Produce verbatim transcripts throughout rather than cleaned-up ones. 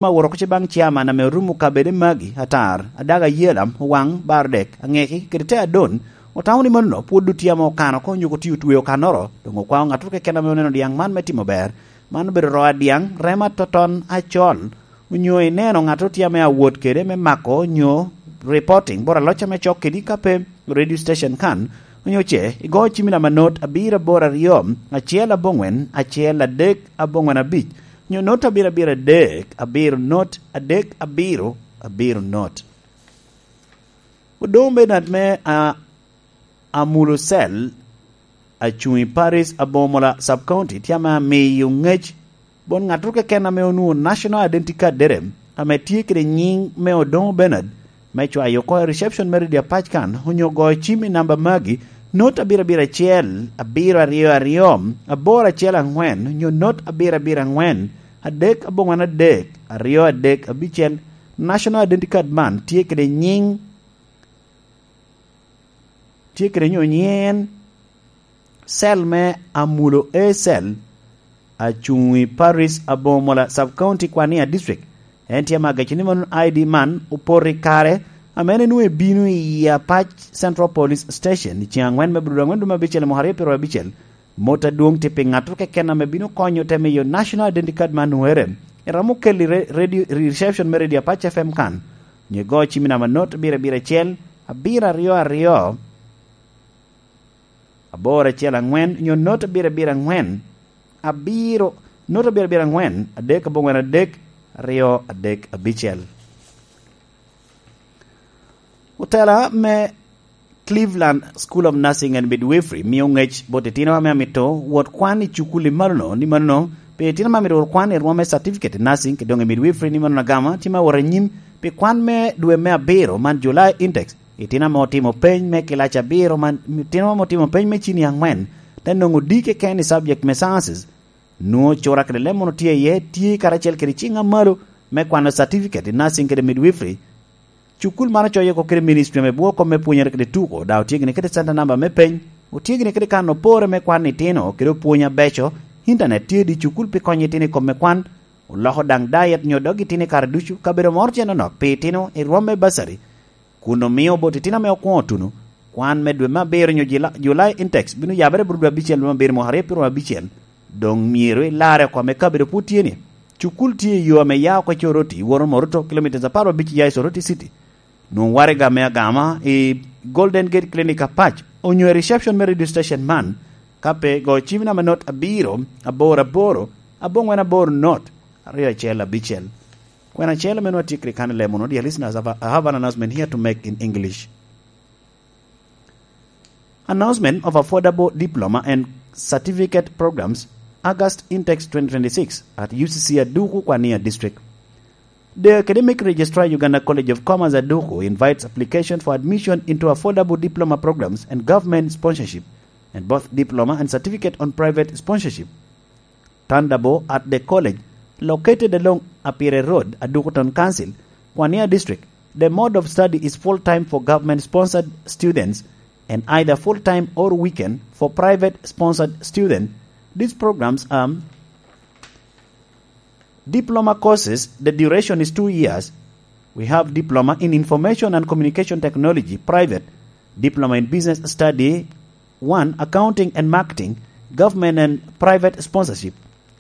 ma woro oko ce baŋ ciaman ame orumo kabede magi atar, adaga ayelam, owaŋ, bar dek, aŋeki, kede te adon, otamo ni mano pwod otye ame okano oko, onyo otye otweo kannoro, doŋ okwao ŋattoro keken ame oneno diaŋ man me timo ber. Man obedo ro adiaŋ, rema toton acol, onyo ineno ŋattoro tye ame awot kede me mako onyo reporting bot aloc ame cok kedi ka pe radio station kan, onyo ce igo cimi namba not abiro aboro aryo, acel aboŋwen, acel adek aboŋwen abic, onyo not abiro abiro adek, abiro not adek abiro, abiro not. Odoŋ Bernard me a, Amulo Cell, acuŋ i Paris Abomola Sub County, tye ame amiyo ŋec bot ŋattoro keken ame onwoŋo National Identity Card dere, ame tye kede nyiŋ me Odoŋo Bernard, me cwayo oko i reception me redio apac kan, onyo goyo cim i namba magi, not abiro abiro acel, abiro aryo aryo, aboro acel aŋwen, onyo not abiro abiro aŋwen, adek aboŋwen adek, aryo adek abicel. National Identity Card man tye kede nyiŋ, tye kede nyo nyen cell me Amulo A Cell, acuŋ i Paris Abomola Sub County Kwania District. En tye ame agecco ni mano I D man opoto i kare ame en enwoŋo ebino i Apac Central Police Station i ceŋ aŋwen me Abril aŋwen dwe me abicel i mwaka aryo pyeraryo abicel. Mot adwoŋ tye pi ŋattoro keken ame bino konyo te miyo National Identity Card man nwoŋere. Eromo keli re-, radio, reception me radio Apac F M kan, onyo igo cim i namba not abiro abiro acel, abiro aryo aryo, aboro acel aŋwen, onyo not abiro abiro aŋwen, abiro, not abiro abiro aŋwen, adek aboŋwen adek, aryo adek abicel. Otela me Cleveland School of Nursing and Midwifery mio ŋec bot itino ame amito wot kwan i cukul i malono, ni manono, pi itino ame amito wot kwan i rwom me certificate i nursing, kede doŋ i midwifery, ni manono agama tye me wot anyim pi kwan me dwe me abiro man, July intake. Itino ame otimo peny me kilac abiro man, itino ame otimo peny me cini aŋwen, te nwoŋo D keken i subject me sciences, nwoŋo cura kede leb mono tye iye, tye karacel kede ciŋ amalo me kwano certificate i nursing kede midwifery. Cukul man ocoyo oko kede ministry ame bwoko me pwonyere kede tuko, daŋ otye gini kede center number me peny, otye gini kede kan opore me kwan itino kede opwony abeco, internet tye di cukul pi konyo itino i kom me kwan, oloko daŋ diet nyo dog itino i kare ducu, kabedo moro tye nonok pi itino i rwom me bursary, kun omio bot itino ame okwoŋo tuno, kwan me dwe me abiro nyo Jula-, July intakes bino yabere bot dwe abicel dwe me abiro mwaka aryo pyeraryo abicel. Doŋ myero ilarre oko ame kabedo pwod tye ni. Cukul tye i yo ame ya oko i Coroti, woto Moruto, kilomitas apar abic ya i Soroti City. Nwoŋo waraga me agama i Golden Gate Clinic Apac, onyo i reception me radio station man, ka pe go cim namba not abiro, aboro aboro, aboŋwen aboro not, aryo acel abicel. Kwena acel ame nwa tye kede kan i lemo no, dear listeners, I have a-, I have an announcement here to make in English. Announcement of Affordable Diploma and Certificate Programs, August Intakes twenty twenty-six at U C C Aduku, Kwania District. The Academic Registrar, Uganda College of Commerce, Aduku, invites application for admission into affordable diploma programs and government sponsorship, and both diploma and certificate on private sponsorship. Tandabo at the college, located along Apire Road, Aduku Town Council, Kwania District. The mode of study is full-time for government-sponsored students and either full-time or weekend for private-sponsored students. These programs are diploma courses, the duration is two years. We have diploma in information and communication technology, private, diploma in business study, one, accounting and marketing, government and private sponsorship,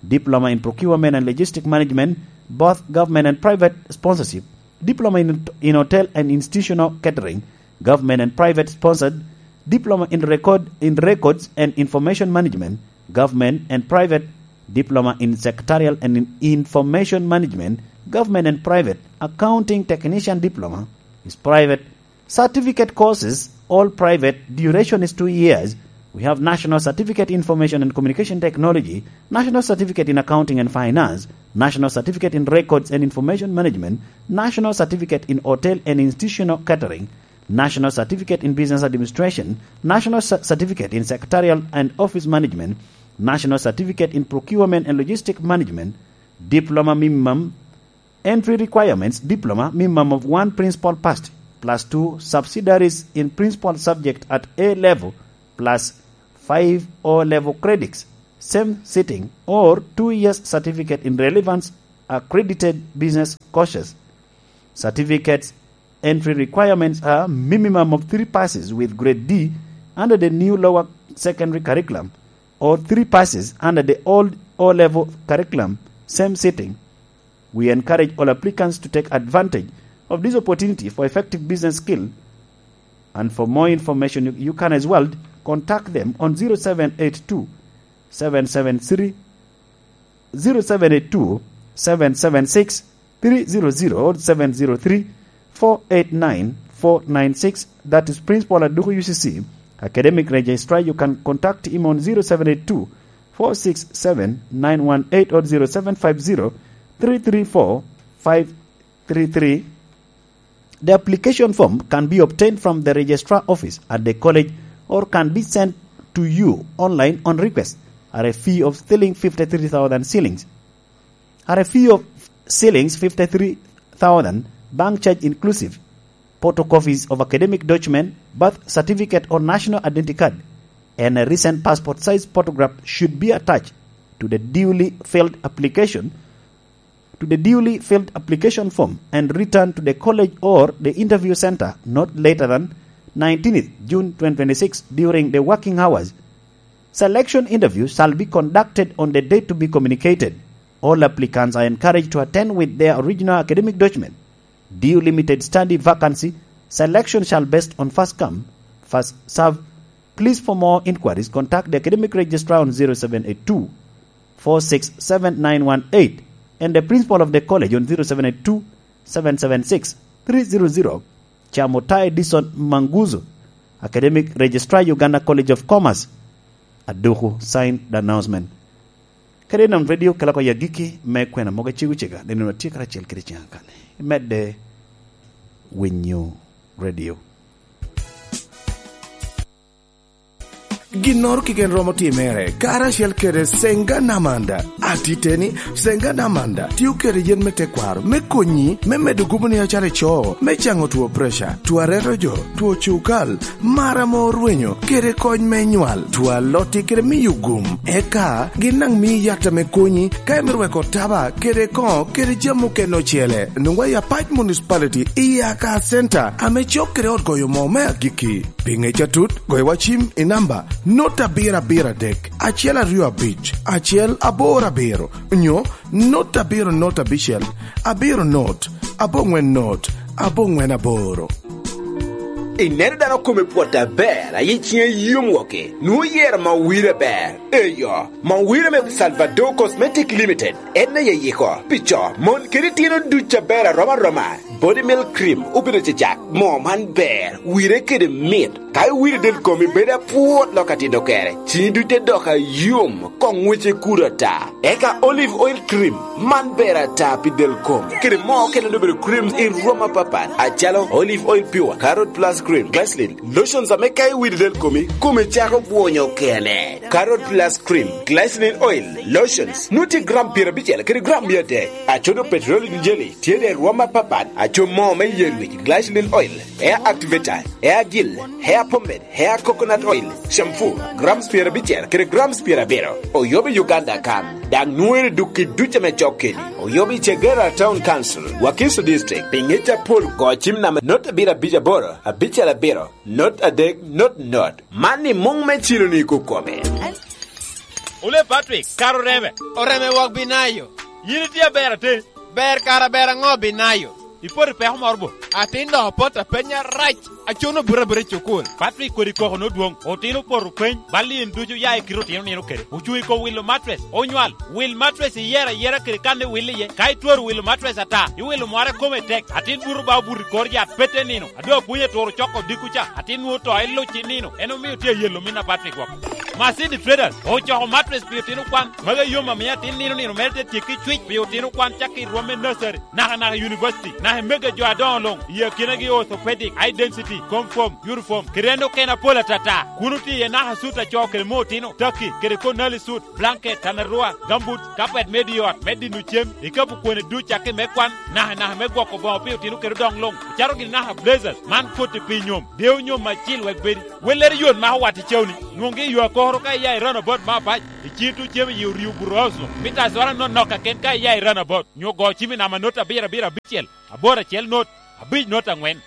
diploma in procurement and logistic management, both government and private sponsorship, diploma in, in hotel and institutional catering, government and private sponsored, diploma in record, in records and information management, government and private, diploma in secretarial and in information management, government and private, accounting technician diploma is private, certificate courses, all private, duration is two years. We have National Certificate Information and Communication Technology, National Certificate in Accounting and Finance, National Certificate in Records and Information Management, National Certificate in Hotel and Institutional Catering, National Certificate in Business Administration, National Cer-, Certificate in Secretarial and Office Management, National Certificate in Procurement and Logistic Management, diploma minimum, entry requirements, diploma minimum of one principal passed plus two subsidiaries in principal subject at A level plus five O level credits, same sitting, or two years certificate in relevance accredited business courses. Certificates entry requirements are minimum of three passes with grade D under the new lower secondary curriculum or three passes under the old O-level curriculum, same sitting. We encourage all applicants to take advantage of this opportunity for effective business skill. And for more information, you, you can as well contact them on zero seven eight two, seven seven three, zero seven eight two, seven seven six, three zero zero or seven zero three, four eight nine, four nine six. That is Principal Aduku U C C, Academic Registrar. You can contact him on zero seven eight two, four six seven, nine one eight or zero seven five zero, three three four, five three three. The application form can be obtained from the registrar office at the college or can be sent to you online on request at a fee of shilling fifty-three thousand shillings. At a fee of shillings fifty-three thousand, bank charge inclusive, photocopies of academic document, birth certificate or national identity card, and a recent passport size photograph should be attached to the duly filled application to the duly filled application form and returned to the college or the interview center not later than nineteenth June twenty twenty-six during the working hours. Selection interview shall be conducted on the date to be communicated. All applicants are encouraged to attend with their original academic document. Due limited study vacancy, selection shall based on first come, first serve. Please, for more inquiries, contact the academic registrar on zero seven eight two, four six seven nine one eight and the principal of the college on zero seven eight two, seven seven six, three zero zero. Chamutai Dison Manguzo, academic registrar, Uganda College of Commerce, Aduku, signed the announcement. Kadi non radio kelako ya giki me kwena mogo cego cega, nino atye karacel kede ciŋa kani. Imedde winyo radio. Ginnoro keken romo timere karacel kede Senga Namanda. Atiteni, Senga Namanda tio kede yen me tekwaro me konyi me medo gubo ni acalo ico, me caŋo two preca, two areto jo, two cukal, mar ame orwenyo, kede kony me nywal, two alotti kede miyo gum. Eka gin daŋ mii yat ame konyi ka imito weko taba kede koŋo kede jami okene ocele. Nwoŋwa i Apac Municipality i Aka Center ame cok kede ot goyo moo me agikki. Pi ŋec atut, goyo wa cim i namba not abiro abiro adek, acel aryo abic, acel aboro abiro, nyo not abiro not abicel, abiro not, aboŋwen not, aboŋwen aboro. Ineno dano kome pwot aber, aye ciŋe yom woki, nwoŋo yero ma wire ber. Eyo, ma wire me Salvador Cosmetic Limited, en aye yiko. Pi co, mon kede itino duc aber arom aroma. Body Milk Cream obedo cecak. Moo man ber, wire kede mit. Ka iwiro del komi bedo apwot lok atito kere, cini duc te dok ayom, koŋ ŋwece kudo ata. Eka Olive Oil Cream, man ber ata pi del kom. Kede moo okene obedo cream i rwom apapat, acalo Olive Oil Pure, Carrot Plus Cream, Glycerin, lotions ame ka iwiro del komi, komi cako bwonyo kene. Carrot Plus Cream, Glycerin Oil, Lotions, nwoŋo tye gram pyerabicel kede gram mia adek. Acodo petroleum jelly tye de rwom apapat, aco moo me yer wic, glycerin oil, hair activator, hair gel, hair pomade, hair coconut oil, shampoo, grams pyerabicel kede grams pyerabiro. Oyobo i Uganda kan, daŋ nwoŋere duk i duc ame cok kedi. Oyobo i Chegera Town Council, Wakiso District, pi ŋec apol go cim namba not abiro abic aboro, abicel abiro, not adek, not not. Man i muŋ me cilo ni kukome. Ole Patrick, kara oreme. Oreme wok binayo. Yin itye aber ate? Ber kara ber aŋo binayo? Ipoto i peko moro bo? Atin dok apoto apenya rac. Acuno buto abuta i cukul. Patrick kodi koko nodwoŋ. Otino opoto peny. Bal in ducu ya i kite otino nino kede. Ocuŋ i kom wilo matres. Onywal. Wil matres iyero ayera kede kan iwil iye. Ka itwero wilo matres ata, iwilo mware kome tek. Atin buto ba obuto i kor yat pete nino. Ado apwony aturo coko dikku ca, atin nwoŋo to iluc i nino, en omio tye ayelo min apat i gwok. Masidi Traders ocoko matres pi otino kwan, magi yom amio atin nino nino mere te tyekki cwic pi otino kwan cakki i rwom me nursery, naka naka i university, naka i mege jo adoŋo luŋ, i akinagi orthopedic, eye density, comfort, uniform, kede en okene apol atata. Kun otye iye naka sut acoo kede me otino, taki, kede konali sut, blanket, tanarua, gambut, kapet me di ot, me dino cem, ikapu kwene duc cakki me kwan, naka naka me gwoko boŋo pi otino kede odoŋ luŋ, ocato gini naka blazers, man koti pi nyom, deo nyom acil wek bedi. Wellere yot mako wat i cewni, nwoŋgi i yo akoko. Moro ka iya i runabout me apac, icito cem i oriu buroso, mita acwara nonok kaken ka iya i runabout, nyo go cim i namba not abiro abiro abicel, aboro acel not, abic not aŋwen.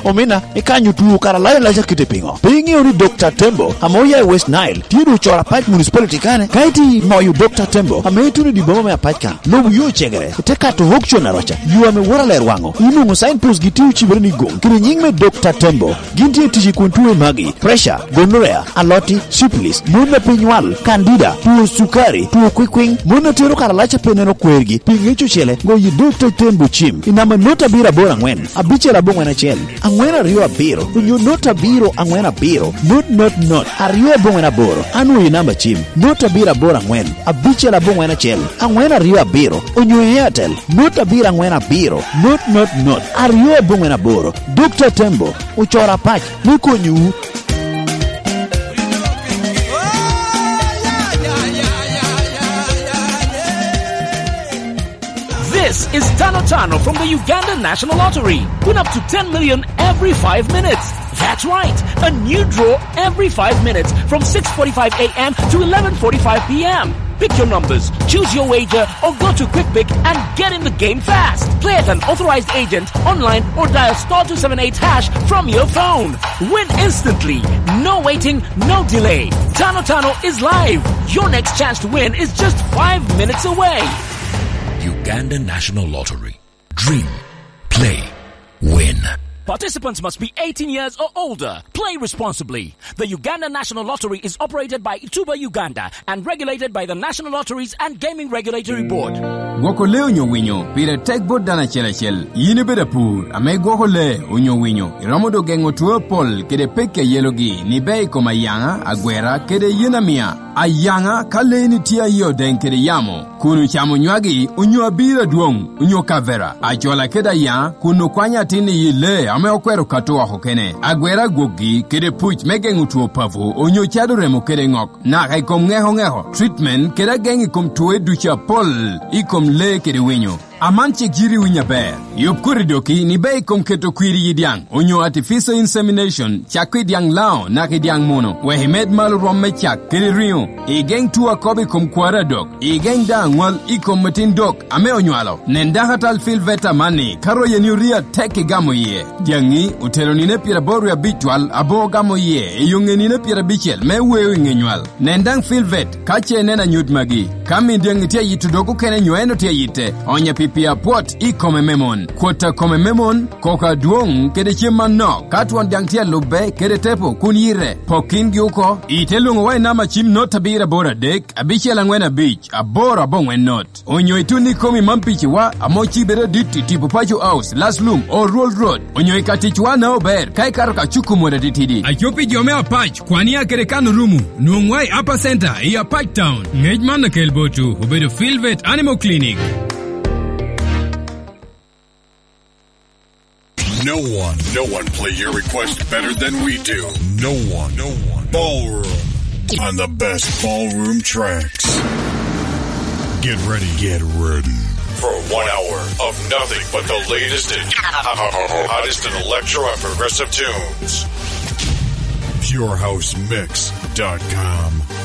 Omina, ikanyo tuo kara lac alac akite piŋo? Pe iŋeo ni Dokta Tembo, ame oya i West Nile, tye doŋ ocoro apac municipality kane? Ka itye moyo Dokta Tembo, ame ituno i dye boma me apac ka, lubo yo cegere, ite kato auction aroca, yo ame water ler waŋo, inwoŋo signpost gi tye ocibere ni goŋ, kede nyiŋ me Dokta Tembo. Gin tye tic i kun tuo i magi, pressure, gonorrhea, aloti, syphilis, mon a pe nywal, candida, tuo cukari, tuo kwikwiŋ, mon a tero kara lac a pe neno kwergi, pi ŋec ocele, goyo i Dokta Tembo cim, i namba not abiro aboro aŋwen, abicel aboŋwen acel, aŋwen aryo abiro, onyo not abiro aŋwen abiro, not not not, aryo aboŋwen aboro, anwoyo i namba cim, not abiro aboro aŋwen, abicel aboŋwen acel, aŋwen aryo abiro, onyo i Airtel, not abiro aŋwen abiro, not not not, aryo aboŋwen aboro, Dokta Tembo, ocoro apac me konyowu. This is Tano Tano from the Uganda National Lottery. Win up to ten million every five minutes. That's right, a new draw every five minutes from six forty-five a m to eleven forty-five p m. Pick your numbers, choose your wager, or go to QuickPick and get in the game fast. Play at an authorized agent, online, or dial star two seven eight hash from your phone. Win instantly. No waiting, no delay. Tano Tano is live. Your next chance to win is just five minutes away. Uganda National Lottery. Dream. Play. Win. Participants must be eighteen years or older. Play responsibly. The Uganda National Lottery is operated by Ituba Uganda and regulated by the National Lotteries and Gaming Regulatory Board. Gwoko lee onyo winyo pire tek bot dano acel acel. Yin ibedo apur ame igwoko lee onyo winyo, iromo doŋ geŋo two apol kede pekki a yelogi ni ber i kom ayaŋa, agwera, kede yen amia. Ayaŋa, ka leeni tye aye odeŋ kede yamo, kun ocamo nywagi, onyo abiro adwoŋ, onyo kavera, ajola kede ayaŋa, kun okwanyo atin i yi lee ame okwero kato oko kene, agwera agwokgi, kede puc me geŋo two papo, onyo cado remo kede ŋok, naka i kom ŋeko ŋeko, treatment, kede ageŋ i kom twoe ducu apol i kom lee kede winyo. Aman cik yiti winyo aber. Yub koti doki ni ber i kom keto kwir i yi dyaŋ, onyo artificial insemination, cakko i dyaŋ Laŋo naka i dyaŋ Muno, wek imed malo rwom me cak kede riŋo, igeŋ tuo akobo i kom kwaro adok, igeŋ daŋ aŋwal i kom atin dok ame onywalo. Nen daŋ atal Filvet amanni, ka royeni orio atek igamo iye. Dyaŋi otero nino pyeraboro wie abic twal, abo ogamo iye i yo ŋe nino pyerabicel me weo i ŋe nywal. Nen daŋ Filvet ka ce ineno anyut magi. Ka min dyaŋi tye ayito dog okene nyo en otye ayitte, onya pi pii apwot i kome me mon, kwot a kome me mon, koko adwoŋ, kede cem manok. Ka twon dyaŋ tye alubbe kede tepo, kun yite, pok kingi oko. Ite lwoŋowa i namba cim not abiro aboro adek, abicel aŋwen abic, aboro aboŋwen not. Onyo itun ikomi man piciwa ame ocibere adit i tipo Paco House, Last Lum, Old Road. Onyo i ka ticwa na ober, ka ikato ka cuku mot atitidi. Aco pi jo me Apac, Kwania kede kan orumo, nwoŋwa i Upper Center i Apac Town. Ngec man akel botwu, obedo Filvet Animal Clinic. No one, no one play your request better than we do. No one, no one. Ballroom on the best ballroom tracks. Get ready, get ready for one hour of nothing but the latest and hottest in electro and progressive tunes. Pure House Mix dot com.